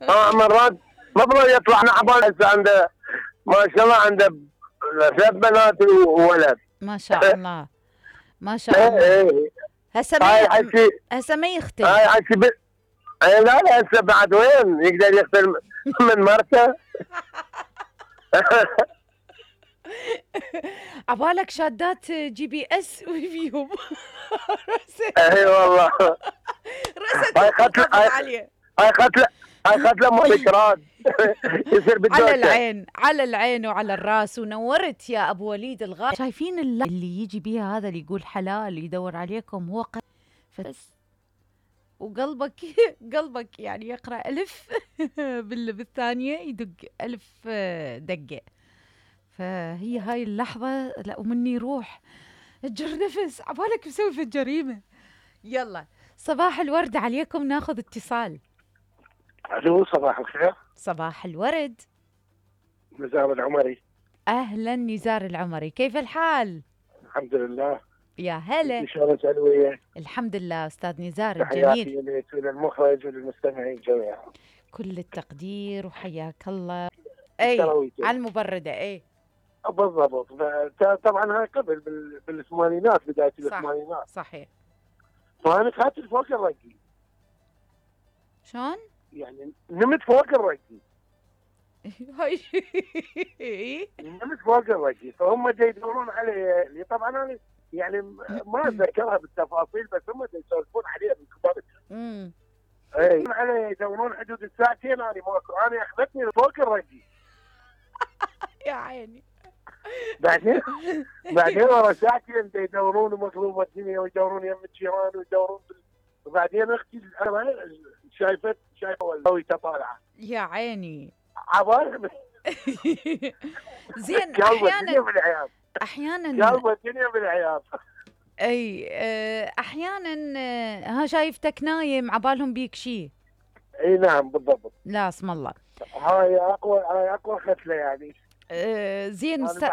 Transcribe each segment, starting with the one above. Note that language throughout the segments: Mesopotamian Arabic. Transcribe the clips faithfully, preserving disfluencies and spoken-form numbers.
اه مرات مفروض يطلع نعبان هسه عنده ما شاء الله عنده ثلاث بنات وولد. ما شاء الله ما شاء ايه الله. ايه هسه ما هاي ي... حكي هسه ما يختل. هاي حكي ب... ايه لا لا هسه بعد وين يقدر يختل من مرته. عبالك شادات جي بي اس وفيهم. اي والله. رست هاي قتله هاي عليه. هاي قتله هاي قتله مالك راد. يصير بالدوشه. على العين على العين وعلى الراس. ونورت يا ابو وليد الغالي. شايفين اللي, اللي يجي بيها هذا اللي يقول حلال يدور عليكم هو ق... فس وقلبك قلبك يعني يقرأ ألف بالثانية يدق ألف دقة. فهي هاي اللحظة لا ومني روح اجر نفس عبالك مسوي في الجريمة. يلا صباح الورد عليكم. ناخذ اتصال. الو صباح الخير. صباح الورد. نزار العمري. اهلا نزار العمري، كيف الحال؟ الحمد لله. يا هلا. شلون سلوية؟ الحمد لله استاذ نزار الجميل. تحياتي لك وللمخرج وللمستمعين جميعا. كل التقدير وحياك الله. اي على المبردة. اي بالضبط. طبعا هاي قبل بالثمانينات بداية الثمانينات. صحيح. فانا قاتل فوق الرقي. شلون؟ يعني نمت فوق الرقي. هاي نمت فوق الرقي فهم دا يدورون علي. طبعا انا يعني ما اتذكرها بالتفاصيل بس هم دا يسولفون عليها من كبار. امم اي علي يدورون حدود الساعتين انا ماكو. انا اخذتني فوق الرقي. يا عيني. بعدين بعدين ورا ساعتين يدورون مقلوبة الدنيا ويدورون يم الجيران ويدورون بال... وبعدين اختي انا شايفت شايفه والله طالعه. يا عيني. عبالي. زين احيانا احيانا قلب الدنيا بالعياط. اي احيانا ها شايفتك نايم عبالهم بيك شيء. اي نعم بالضبط. لا اسم الله. هاي اقوى هاي اقوى ختله يعني. أه زين ست...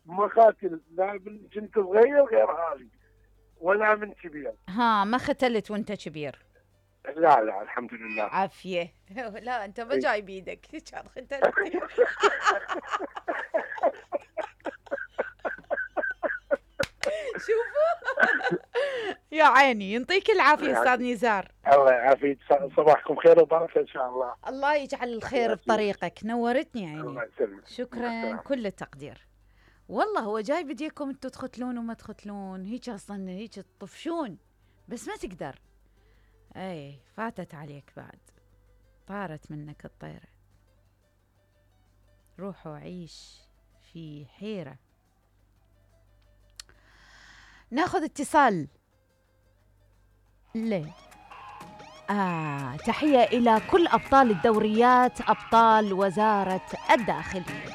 ما قاتل لا من كنت صغير غير هذه ولا من كبير. ها ما ختلت وانت كبير؟ لا لا الحمد لله. عافيه. لا انت ما جاي بيدك كان ختلت. شوفوا. يا عيني يعطيك العافيه استاذ نزار. الله يعافيك. صباحكم خير وبركه ان شاء الله. الله يجعل الخير بطريقك. نورتني عيني. الله يسلمك. شكرا كل التقدير. والله هو جاي بديكم انتم تختلون وما تختلون هيك اصلا هيك تطفشون بس ما تقدر. اي فاتت عليك بعد طارت منك الطيرة. روح وعيش في حيرة. ناخذ اتصال. ليه آه تحية إلى كل أبطال الدوريات أبطال وزارة الداخلية.